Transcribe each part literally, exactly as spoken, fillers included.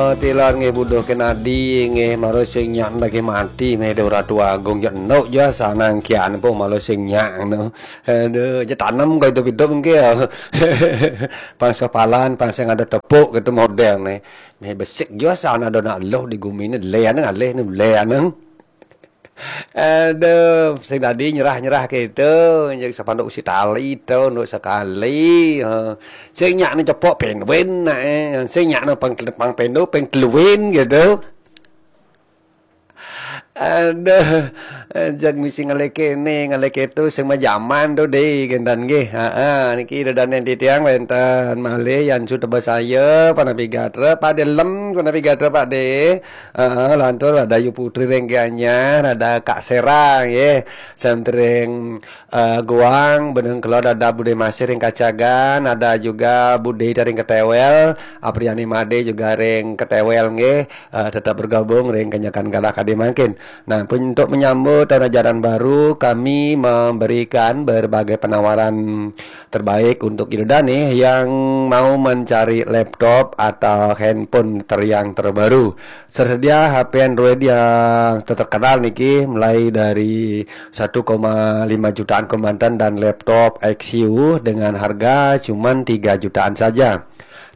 Tilar nggih buduh kenadi nggih, maro sing nyak daging mati meh do Ratu Agung, jek enuk jua sanang kian pun maro sing nyak no. Aduh, je tanem kau hidup-hidup nggih. Pangsa palan, pangsa ada tepuk gitu model nih. Meh besik jua sana do nak loh di gumi ni, lean ngalih ni, lean. Aduh, sing tadi nyerah-nyerah gitu, jadi sepanduk si tali tu, untuk sekali. Ha. Sing nyak ni cepok penduin nak eh. Sing nyak ni pang, pang pendu, pang teluin gitu. Aduh, eh, jag misi ngalih kene, ngalih ketu, sing majaman tu deh, gendan nggih. Ha, ha, niki dedan yang titiang wenten malih, yang sudah bersaya, Pak Nabi Gatra, Pak Delem, Pak Nabi Gatra, Pak De. Heeh, lantur ada Ayu Putri ring Gianyar, ada Kak Sera nggih. Sentering eh, Guang, Benung Kelod, ada Bude Masih ring Kacagan, ada juga Bude ring Ketewel, Apriani Made juga ring Ketewel nggih. Eh, tetap bergabung ring Kenyakan Galah kadi mangkin. Nah, pun untuk menyambut tahun ajaran baru, kami memberikan berbagai penawaran terbaik untuk Ida dané yang mau mencari laptop atau handphone ter-, yang terbaru. Tersedia H P Android yang terkenal niki, mulai dari satu koma lima jutaan kemanten dan laptop X U dengan harga cuman tiga jutaan saja.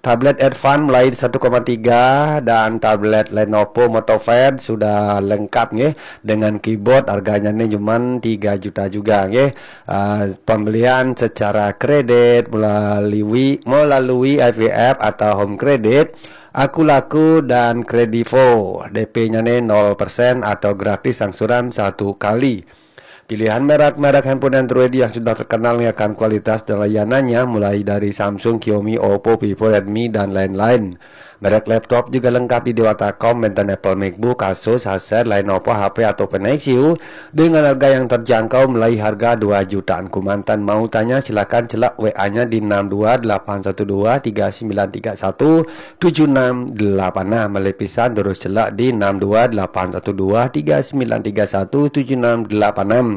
Tablet Advan mulai satu koma tiga dan tablet Lenovo MotoPad sudah lengkap nggih, dengan keyboard, harganya nih cuman tiga juta juga nggih. Ah, pembelian secara kredit melalui, melalui I V F atau Home Credit, Aku Laku dan Kredivo. D P-nya nih nol persen atau gratis angsuran satu kali. Pilihan merek-merek handphone Android yang sudah terkenal nih akan kualitas dan layanannya, mulai dari Samsung, Xiaomi, Oppo, Vivo, Redmi, dan lain-lain. Merek laptop juga lengkap di Dewata Com, wenten Apple MacBook, Asus, Acer, Lenovo, H P, ataupun Nexus dengan harga yang terjangkau, mulai harga dua jutaan kemanten. Mau tanya, silakan celak W A-nya di enam dua delapan satu dua tiga sembilan tiga satu tujuh enam delapan enam. Malih pisan, terus celak di enam dua delapan satu dua tiga sembilan tiga satu tujuh enam delapan enam.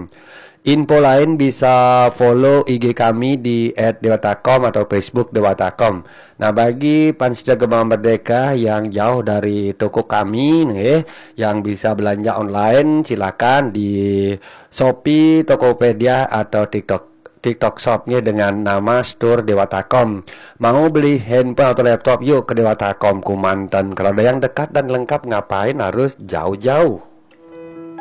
Info lain bisa follow I G kami di at dewata com atau Facebook Dewata Com. Nah, bagi fans Gema Merdeka yang jauh dari toko kami nih, yang bisa belanja online, silakan di Shopee, Tokopedia, atau TikTok, TikTok Shop nih, dengan nama Store Dewata Com. Mau beli handphone atau laptop, yuk ke Dewata Com kemanten. Kalau ada yang dekat dan lengkap, ngapain harus jauh-jauh?